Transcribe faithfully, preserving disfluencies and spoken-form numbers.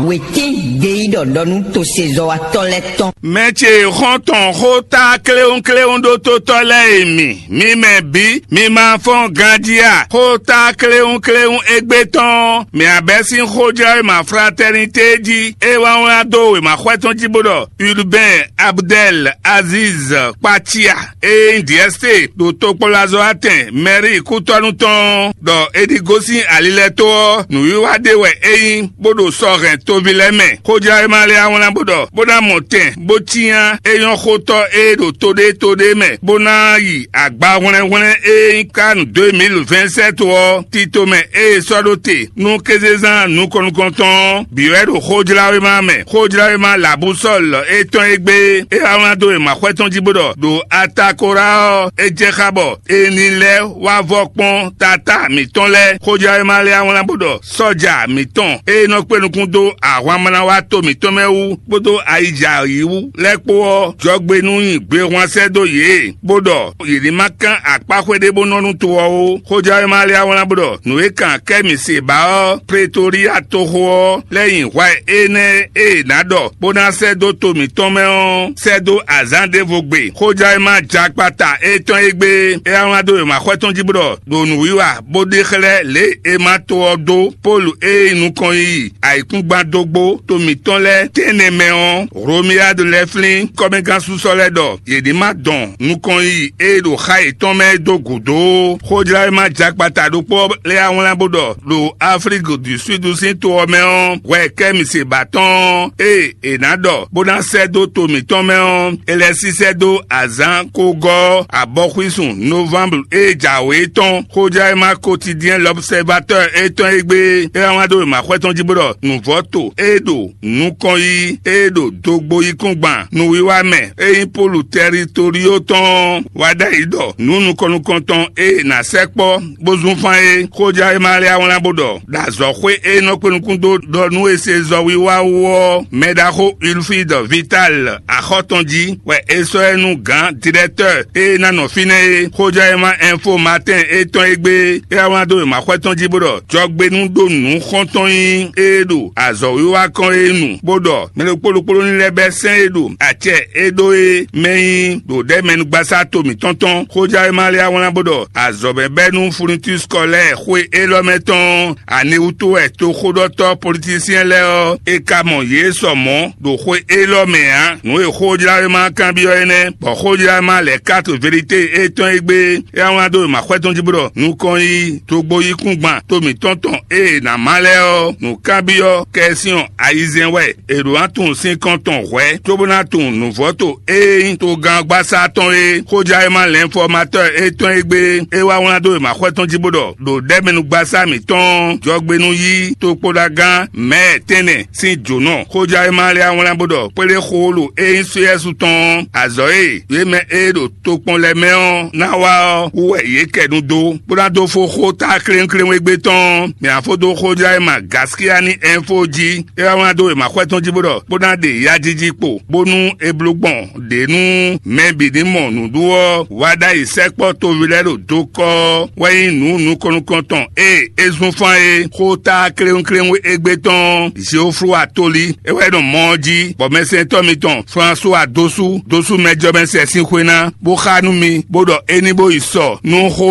Wětín ɖe yí ɖɔ ɖɔ nú tosezɔ́watɔ́ lɛ́ɛ tɔn. Mɛ ce xɔ́ntɔn xó tá kléwúnkléwún ɖó tótɔ́ lɛ́ɛ e mi, mi mɛ bǐ, mi ma fɔ́n ganjí a? Xó tá kléwúnkléwún égbé tɔn, mǐ abɛ́ sín xójlawéma Fraternité jí, é wá wlán dó wěma xwɛ tɔn jí bó ɖɔ Urbain Abdel Aziz Kpatia, e nyí D S T ɖo tokpɔnlazɔ́watɛn mɛ̌ri kútɔ́nú tɔn, ɖɔ è ɖi gosín ali lɛ́ɛ tó ɔ́, nǔwiwa ɖé wɛ é nyí, bó ɖo sɔ hɛn toví lɛ́ɛ mɛ. Xójlawéma lɛ́ɛ wá wlán bó ɖɔ, bó ná mɔ tɛn, bó cyán é nyɔ́ xótɔ́ e ɖo to ɖé to ɖé mɛ, bó ná yi agba hwlɛ́nhwlɛ́n e nyí kánu deux mille vingt-sept ɔ́, tito mɛ e è sɔ́ ɖó te nú kézezán nukɔn nukɔntɔn ɔ́, bǐ wɛ ɖo xójlawéma mɛ. Xójlawéma Labusɔ́l étɔn e gbé é wá wlán dó wěma xwɛ tɔn jí bó ɖɔ, ɖo Atakora ɔ́, é jɛ xá bɔ è ní lɛ́ wá vɔ kpɔ́n tatá mǐtɔn lɛ́ɛ. Xójlawéma lɛ́ɛ wá wlán bó ɖɔ, sɔ́ja mǐtɔn e nɔ kpé nukún dó ahwan mla wá to mǐtɔn mɛ wú kpódó ayijǎ yi wú lɛ́ɛ kpó ɔ́, jɔgbe nú nyi gbehwan sɛ́ dó yě, bó ɖɔ yě ní ma kán akpá xwé ɖé bó nɔ nú to ɔ́ ó. Xójlawéma lɛ́ɛ wá wlán bó ɖɔ, nǔ e kan kɛ́ mǐ se ba ɔ́, Pretolia toxo ɔ́ lɛ́ nyi hwɛ énɛ́ e è nǎ ɖɔ bó ná sɛ́ dó to mǐtɔn mɛ ɔ́, sɛ́ dó azǎn ɖěvo gbe. Xójlawéma jakpata étɔn e gbé é wá wlán dó wěma xwɛ tɔn jí bó ɖɔ, ɖo nǔwiwa bó ɖe xlɛ́ lě e è ma to ɔ́ dó Pɔ́lu e nyí nukɔn yiyi ayǐkúngban dó gbó to mǐtɔn lɛ́ɛ tɛ́nnɛ mɛ ɔ́, Hlomiyádu lɛ́ɛ flín kɔ́mɛgánsúsɔ lɛ́ɛ ɖɔ yě ní ma dɔn nukɔn yiyi e ɖo xá yětɔn mɛ é dó gǔdo ó. Xójlawéma jakpata ɖokpó lɛ́ɛ wá wlán bó ɖɔ, ɖo Aflíki du Súdu sín to ɔ́ mɛ ɔ́, hwɛ kɛ́ mi se ba tɔn ɔ́, ée è nǎ ɖɔ bó ná sɛ́ dó to mǐtɔn mɛ ɔ́, è lɛ́ sísɛ́ dó azǎn kogɔ́ abɔxwísun novamblu e jǎwe tɔn. Xójlawéma Quotidien L'Observateur étɔn e gbé é wá wlán dó wěma xwɛ tɔn jí bó ɖɔ nǔvɔ́ to e ɖo nukɔn yí e ɖo dogbo yíkúngban nǔwiwa mɛ e nyí Pɔ́lu Tɛritorio tɔn ɔ́ wá ɖ'ayǐ ɖɔ nǔ nukɔn nukɔntɔn e è nǎ sɛkpɔ́ bó zún fán é. Xójlawéma lɛ́ɛ wá wlán bó ɖɔ, ɖo azɔ̌xwé e nɔ kpé nukún dó ɖɔ nú è se zɔwiwa wú ɔ́, mɛ ɖaxó Ulfide Vital axɔ́ tɔn jí wɛ è sɔ́ ɛ nú gǎn dirɛktɔ́ e ná nɔ fínɛ́ é. Xójlawéma Info Matin étɔn e gbé é wá wlán dó wěma xwɛ tɔn jí bó ɖɔ jɔgbe nú ɖó nǔ xɔ́ntɔn nyí e ɖo azɔ̌wiwa kɔn é nu, bó ɖɔ mɛ ɖokpó ɖokpó ní lɛ́ bɛ́ sɛ́n e ɖo acɛ e ɖó é mɛ nyí ɖo ɖɛ̌mɛnugbasá to mǐtɔn tɔn. Xójlawéma lɛ́ɛ wá wlán bó ɖɔ azɔ̌mɛbɛ́nú Funitus Kɔlɛ́ɛ xwe élɔ́ mɛ tɔn aniwútu wɛ toxóɖɔtɔ́ politísyɛn lɛ́ɛ ɔ́, è ka mɔ yě sɔ mɔ̌ ɖo xwe élɔ́ mɛ ǎ. Nǔ e xójlawéma kanbyɔ́ é nɛ́, bɔ xójlawéma lɛ̌ káto Velité étɔn e gbé é wá wlán dó wěma xwɛ tɔn jí bó ɖɔ nukɔn yí dogbo yíkúngban to mǐtɔn tɔn e è nǎ má lɛ́ɛ ɔ́, nǔkanbyɔ́ kɛsyɔn ayizɛ́n wɛ è ɖǒ ná tunwun sín kɔn tɔn hwɛ̌, cóbó ná tunwun nǔvɔ́to e nyí togán gbasá tɔn é. Xójlawéma lɛ̌nfɔmatɔ́ étɔn e gbé é wá wlán dó wěma xwɛ tɔn jí bó ɖɔ ɖo ɖɛ̌mɛnugbasá mǐtɔn jɔgbenú yí tokpóɖagán mɛ̌ tɛ́nnɛ sín jǒnɔ. Xójlawéma lɛ́ɛ wá wlán bó ɖɔ kpéɖé xoolo e nyí Sóyɛ́su tɔn ɔ́, azɔ̌ e yě mɛ e ɖo tokpɔn lɛ́ɛ mɛ ɔ́ ná wá ɔ́ wú wɛ yě kɛ nu dó, bó ná dó fó xó ta kléwúnkléwún égbé tɔn. Mǐ ná fó dó xójlawéma Gaskiyani Ɛnfo jí, é wá wlán dó wěma xwɛ tɔn jí bó ɖɔ bó ná ɖe yajiji kpo, bónú è bló gbɔn ɖě nú mɛ bǐ ní mɔ nǔɖuɖu ɔ́ wá ɖ'ayǐ sɛkpɔ́ toví lɛ́ɛ ɖo dokɔ́ ɔ́ wɛ nyí nǔ nukɔn nukɔntɔn e é zún fán é. Xó ta kléwúnkléwún égbé tɔn Zeoflu Atoli é wɛ nɔ mɔ ɔ́ jí, bɔ mɛsɛntɔ́ mitɔn Flasuwa Dosu Dosu mɛjɔmɛsɛ sín xwé ná, bó xá nú mi, bó ɖɔ é ní bó yi sɔ nú xó